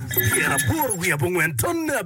85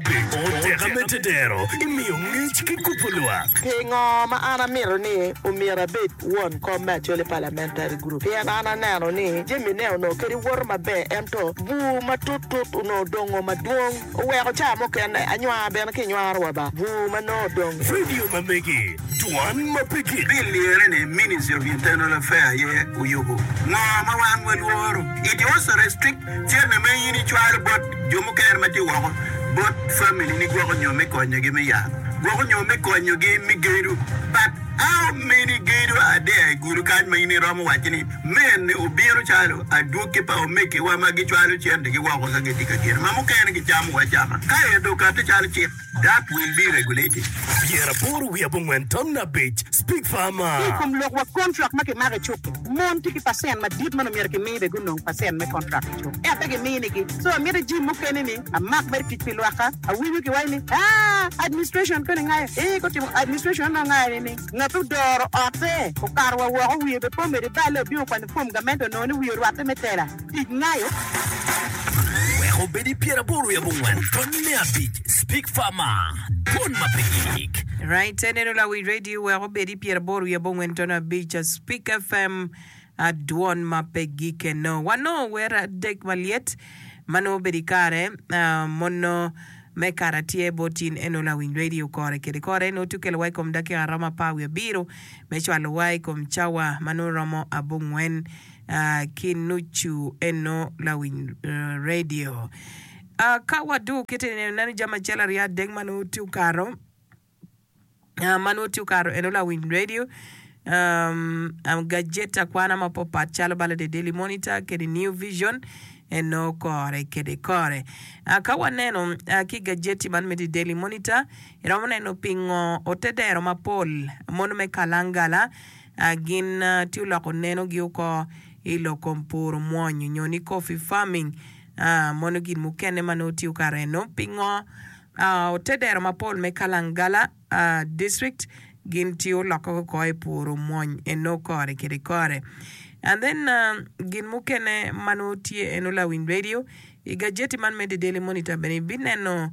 Oteka me tedero i miyo ngec ki kubo lwak. Pingo ma an amito ni omyero abed won kom me Acholi Parliamentary Group? Pien an aneno ni jami ne onongo kadi woto maber ento bur matut tut onongo odongo madwong oweko ca mukene anywar bene ki nywaro wa ba bur ma nongo odong. Radio ma megi, dwan ma pe gik. Bill lyere ni Ministry of Internal Affair aye oyubo. Ngo ma wan walworo? It also restrict Cente ma in icwalo bot jo mukene ma tye woko bot family ni gwoko nyo me konyogi me yat, gwoko nyo me konyogi me gedo. But how many gedo are there i gudo kany ma in iromo waco ni mene obino calo adwogi pa omegiwa ma gicwalo centegi woko ka gitye ka gedo ma mukene gicamo wa acama ka ento okate calo cik. That will be regulated. 85 5 Speak Farmer. Ki i kom lok wa kontrak ma kimako i cuk-ki, mon tye ki pacent madit ma nongo myero kimi bene gunong pacent me kontrak i cuk ento pe giminigi. So amito jim mukene ni amak mere tic pi lwakka. Awinyo kiwaco ni aa administration koni ngayo ee gutimo administration onongo ngayo ni ni ngat odoro otte okato wa woko wiye bene pe omedo iballe obino okwanyo form gamente onongo ni wiye orwatte me tela. Tic ngayo. Wek obed i 84 5 Speak Farmer, Dwon ma pe gik. Right, eneno lawic radio wek obed i 85.5 Speak FM dwon ma pe gike no. Wanongo wer adek malyet ma nongo obedo i kare mono me kare tye bot in eno lawiny radio kore kede kore nongo tye okelo wa i kom dakika romo apar wiye abiro me cwalo wa i kom cawa ma nongo romo abongwen ki nucu eno lawiny radio. Ka wadwogo kite neno neno jami acel aryo adek ma nongo tye okato ma nongo tye okato eno lawiny radio gajeti akwana mapapat calo balo The Daily Monitor kede New Vision eno kore kede kore. Ka waneno ki gajeti man me The Daily Monitor iromo neno pingo ote dero mapol mono me kalangala Gin tye oloko nenogi oko i lok kom puro mwony nyo ni coffee farming mono gin mukene ma nongo tiyo kare eno. Pingo ote dero mapol me Kalangala district gin tye olokke oko i puro mwony eno kore kede kore. And then gin mukene ma nongo tye eno lawiny radio i gajeti man me The Daily Monitor bene ibineno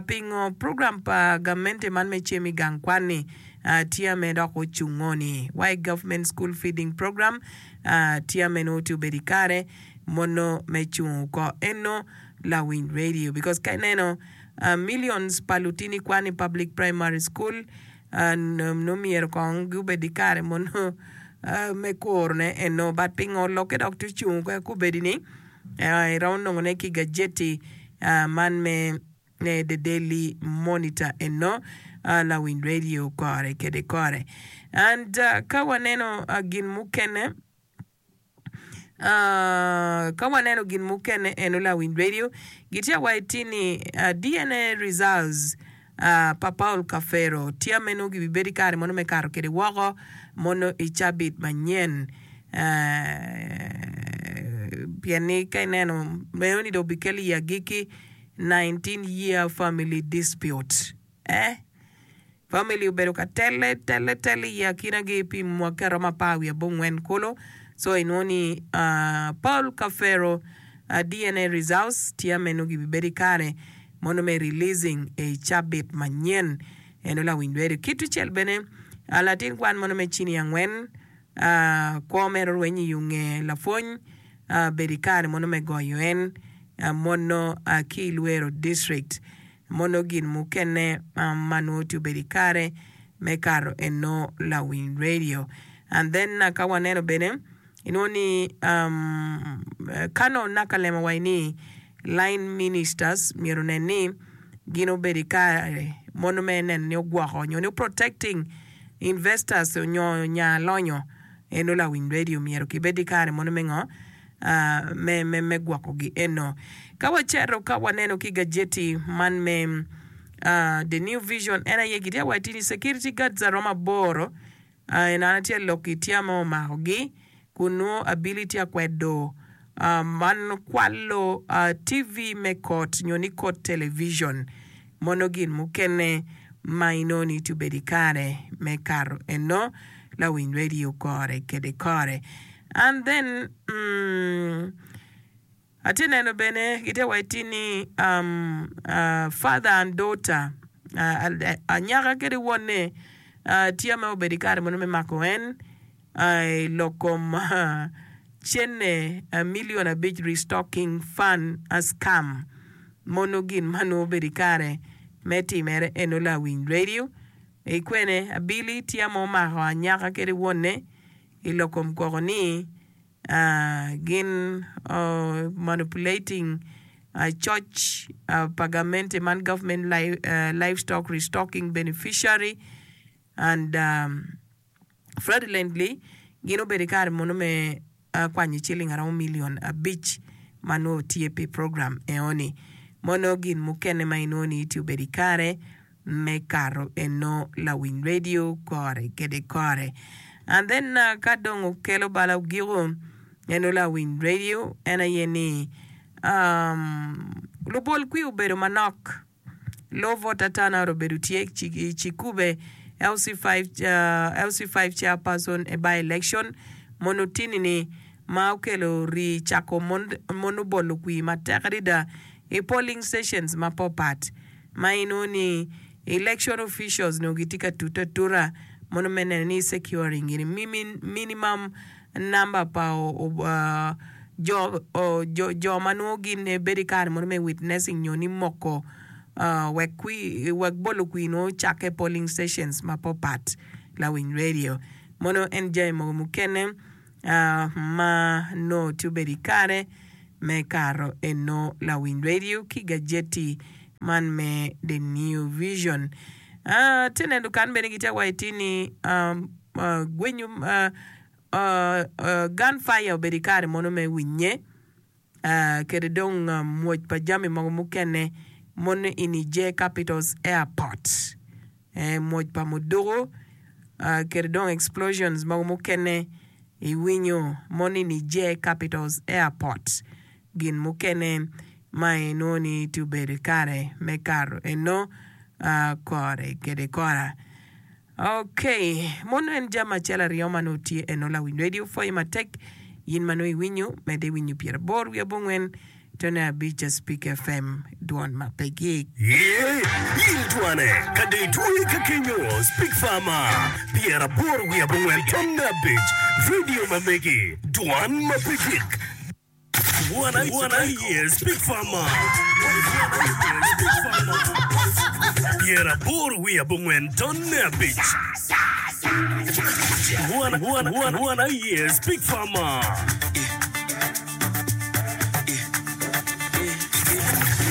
Pingo program pa gamente man me cem i gang kwan-ni tye ame dok ocungo ni Why Government School Feeding Program tye ame nongo tye obedo i kare mono me cungo oko eno lawiny radio because ka ineno millions pa lutini kwan i public primary school nongo myero kong gubed i kare mono me kurone eno but pingo lokke dok tye ocungo kobedi ni Iromo nongone ki i gajeti man me The Daily Monitor eno lawiny radio kore kede kore. And ka waneno gin mukene ka waneno gin mukene eno lawiny radio gitye wa iti ni DNA results pa Paul Kafero tye meno gibibedo i kare mono me kato kwede woko mono i cabit manyen pien ni ka ineno meno ni dong obikelo i agikki 19 year family dispute eh family obedo ka telle telle telle i akinagi pi mwaki aromo apar wiye abongwen kulu so inwongo ni Paul Kafero DNA results tye meno gibibedo i kare mono me releasing i cabit manyen eno lawiny lwedo. Ki tucel bene latin kwan mono me cini angwen kwo mere orweny i yo nge lapwony bedo i kare mono me goyo en mono ki i Luero district mono gin mukene ma nongo tye obedo i kare me kato eno lawiny radio and then ka waneno bene Inwongo ni Colonel Nakalema waco ni line ministers myero onen ni gin obedo i kare mono me neno ni ogwoko nyo ni protecting investors nyo nya lonyo eno lawiny radio myero kibed i kare mono me ngo me me me gwoko gi eno. Ka waceto ka waneno ki gajeti man me The New Vision en aye gitye waci ni security guards aromo aboro En an atye lok i tya ma omakogi kun nongo abili tye akwedo man kwalo TV me kot nyo ni kot television mono gin mukene ma inongo ni tye obedo i kare me kato eno lawiny radio kore kede kore and then. Atye neno bene gitye wa iti ni father and daughter anyaka kede wonne tye ma obedo i kare mono me mako en i lok kom cene million abic restocking fund scam mono gin ma nongo obedo i kare me timere eno lawiny radio i kwene abili tye ma omako anyaka kede wonne i lok kom koko ni gin manipulating coc pa gamente man government livestock restocking beneficiary and fraudulently gin obedo ki kare mono me kwanyo ciling aromo million abic ma nongo tye pi program enoni mono gin mukene ma inongo ni tye obedo ikare me kato eno lawiny radio kore kede kore and then ka dong okelo bala ogiko eno lawiny radio en aye ni lubol kwir obedo manok low voter turnout obedo tye i Cikube LC5 chairperson e by election mono tini ni ma okelo rii cako mono bolo kwir matek adada i polling stations mapopat. Ma inongo ni election officials nongo gitye ka tute atuta mono me neno ni securing gini minimum number pa jo ma nongo gin bedo i kare mono me witnessing nyo ni moko wek bolo kwir nongo ocakke i polling stations mapapat lawiny radio mono en jami mogo mukene ma nongo tye obedo i kare me kato eno lawiny radio ki gajeti man me The New Vision. Atye neno kan bene gitye wa iti ni gwenyo gun fire obedo i kare mono me winye kede dong mwoc pa jami mogo mukene mono i Niger Capitals Airport. Mwoc pa muduku kede dong explosions mogo mukene iwinyo mono i Niger Capitals Airport. Gin mukene ma inwongo ni tye obedo i kare me kato eno kore kede kora. Ok, mono en jami acel aryo ma nongo tye eno lawiny radio pwoyi matek in ma nongo iwinyo medde iwinyo pyeraboro wiye abongwen tone abic Speak FM dwon ma pe gik. Ye, in twane, ka dong itwoye ka kenyo, Speak Farmer, 85 Radio ma megi, dwan ma pe gik. Wan aye Speak Farmer, 85.5 Speak Farmer.